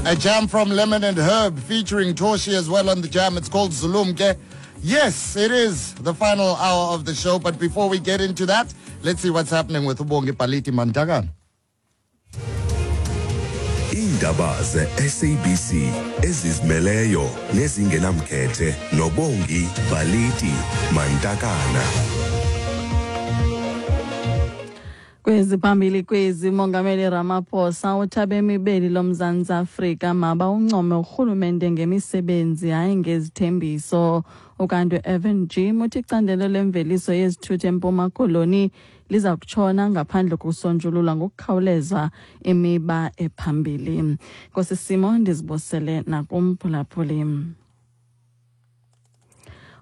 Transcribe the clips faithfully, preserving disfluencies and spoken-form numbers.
A jam from Lemon and Herb featuring Toshi as well on the jam. It's called Zulumke. Yes, it is the final hour of the show. But before we get into that, let's see what's happening with Ubongi Paliti Mantagan. Iindaba ze-S A B C ezizimeleyo nezingenamkhethe noBongi Baliti Mantakana. Kwezi phambili kwezi: Mongameli Ramaphosa uthi abemi beli loMzantsi Afrika mabawuncome urhulumente ngemisebenzi, hayi ngezithembiso. Ukanti u-Irvin Jim uthi icandelo lemveliso yezithuthi eMpuma Koloni liza kutshona ngaphandle kokusonjululwa ngokukhawuleza imiba ephambili. Nkosi Simo ndizibosele nakumphulaphuli.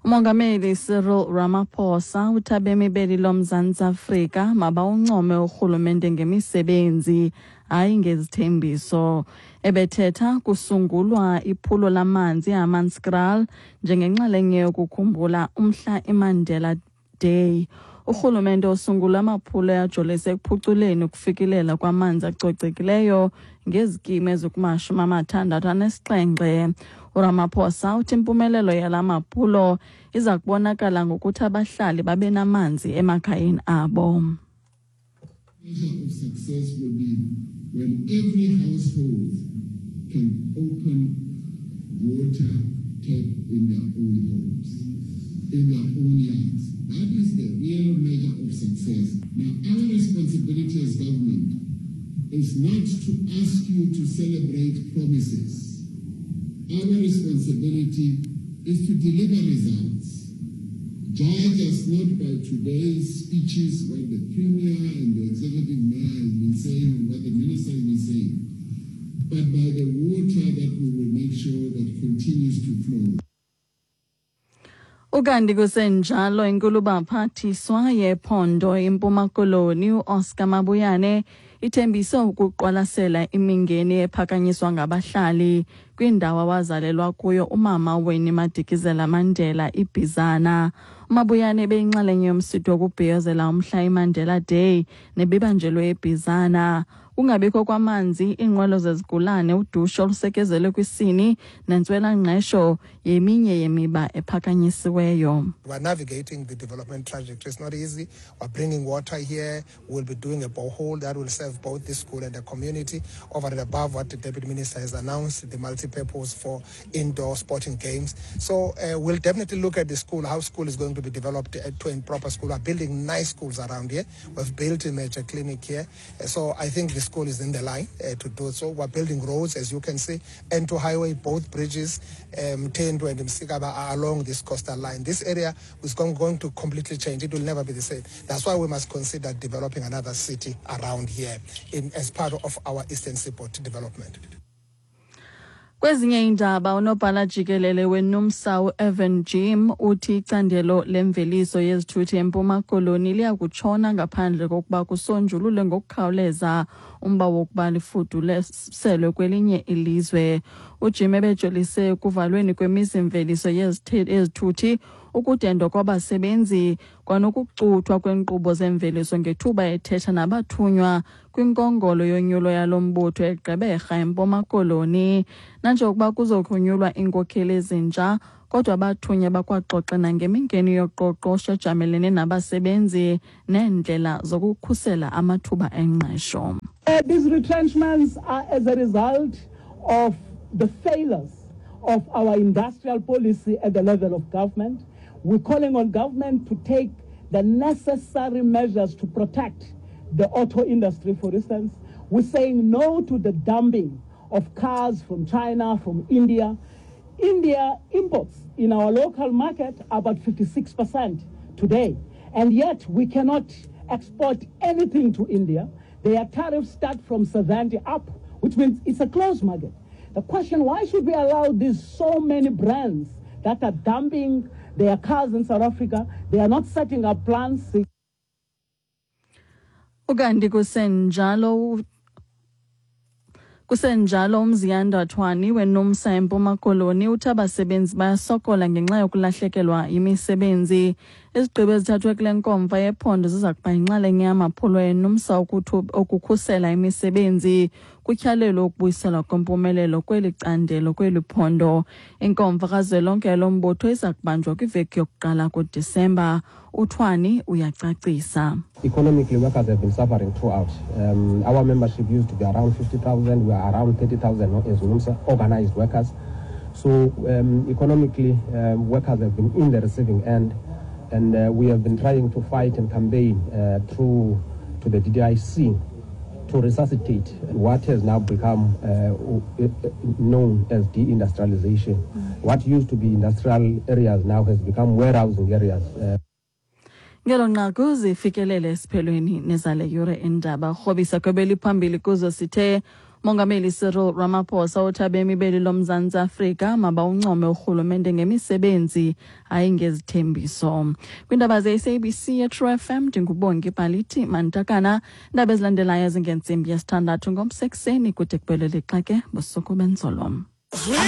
Umongameli Cyril Ramaphosa uthi abemi beli loMzantsi Afrika mabawuncome urhulumente ngemisebenzi, hayi ngezithembiso. Ebethetha kusungulwa iphulo lamanzi eHammanskraal njengenxalenye yokukhumbula umhla iMandela Day. Urhulumente osungula amaphulo ajolise ekuphuculeni ukufikelela kwamanzi acocekileyo ngezikimu ezikumashumi amathandathu anesixhenxe. URamaphosa uthi impumelelo yala maphulo iza kubonakala ngokuthi abahlali babe namanzi emakhayeni abo. Measure of success will be when every household can open water tap in their own homes, in their own yards. That is the real measure of success. Now, our responsibility as government is not to ask you to celebrate promises. Our responsibility is to deliver results. Judge us not by today's speeches, what the Premier and the Executive Mayor has been saying and what the Minister has been saying, but by the water that we will make sure that continues to flow. Ukanti kusenjalo, inkulubaphathiswa yephondo iMpuma Koloni uOscar Mabuyane ithembise ukuqwalasela imingeni ephakanyiswa ngabahlali kwindawo awazalelwa kuyo umama Winnie Madikizela Mandela, iBhizana. UMabuyane ebeyinxalenye yomsitho wokubhiyozela umhla iMandela Day nebibanjelwe eBhizana. Kungabikho kwamanzi, iinqwelo zezigulane, udushe olusekezelwe kwisini nentswelangqesho yeminye yemiba ephakanyisiweyo. We're navigating the development trajectory. It's not easy. We're bringing water here. We'll be doing a borehole that will serve both the school and the community. Over and above what the Deputy Minister has announced, the multi-purpose for indoor sporting games. So uh, we'll definitely look at the school, how school is going to be developed uh, to a proper school. We're building nice schools around here. We've built a major clinic here. Uh, so I think the school is in the line uh, to do so. We're building roads, as you can see, N two Highway, both bridges, um, Tendu and Msikaba are along this coastal line. This area is going, going to completely change. It will never be the same. That's why we must consider developing another city around here in, as part of our Eastern Seaboard development. Kwezinye iindaba, unobhala jikelele weNUMSA u-Irvin Jim uthi icandelo lemveliso yezithuthi eMpuma Koloni liya kutshona ngaphandle kokuba kusonjululwe ngokukhawuleza umba wokuba lifuduselwe kwelinye ilizwe. UJim ebejolise ekuvalweni kwemizimveliso yezithuthi, ukudendwa kwabasebenzi kwanokucuthwa kweenkqubo zemveliso ngethuba ethetha nabathunywa kwinkongolo yonyulo yalo mbutho eGqeberha, eMpuma Koloni. Nanjengokuba kuzokunyulwa iinkokheli ezintsha, kodwa abathunywa bakwaxoxe nangemingeni yoqoqosho ejamelene nabasebenzi neendlela zokukhusela amathuba engqesho. Uh, these retrenchments are as a result of the failures of our industrial policy at the level of government. We're calling on government to take the necessary measures to protect the auto industry, for instance. We're saying no to the dumping of cars from China, from India. India imports in our local market about fifty-six percent today. And yet we cannot export anything to India. Their tariffs start from seventy up, which means it's a closed market. The question, why should we allow these so many brands that are dumping their cars in South Africa? They are not setting up plants. Ukanti kusenjalo kusenjalo uMziyanda Thwani weNUMSA eMpuma Koloni uthi abasebenzi bayasokola ngenxa yokulahlekelwa yimisebenzi. Izigqibo ezithathwe kule nkomfa yephondo ziza kuba yinxalenye yamaphulo eNUMSA okukhusela imisebenzi. Kutyhalelwe ukubuyiselwa kwempumelelo kweli candelo kweli phondo. Inkomfa kazwelonke yalo mbutho iza kubanjwa kwiveki yokuqala kuDisemba. UThwani uyacacisa. Economically, workers have been suffering throughout. Um, our membership used to be around fifty thousand. We are around thirty thousand as NUMSA, organized workers. So um, economically, um, workers have been in the receiving end, and uh, we have been trying to fight and campaign uh, through to the D D I C to resuscitate what has now become uh, known as deindustrialization. Mm. What used to be industrial areas now has become warehousing areas. Uh, Ngelo nqaku zifikelele esiphelweni nezale yure indaba. Rhobisa kwebeli phambili kuzo sithe Mongameli Cyril Ramaphosa uthi abemi beli loMzantsi Afrika mabawuncome urhulumente ngemisebenzi, hayi ngezithembiso. Kwiindaba ze-S A B C ye-True F M, ndinguBongi Bhalithi Mantakana. Iindaba ezilandelayo zingentsimbi yesithandathu ngomsekuseni kude kubele lixa ke busuku benzolo.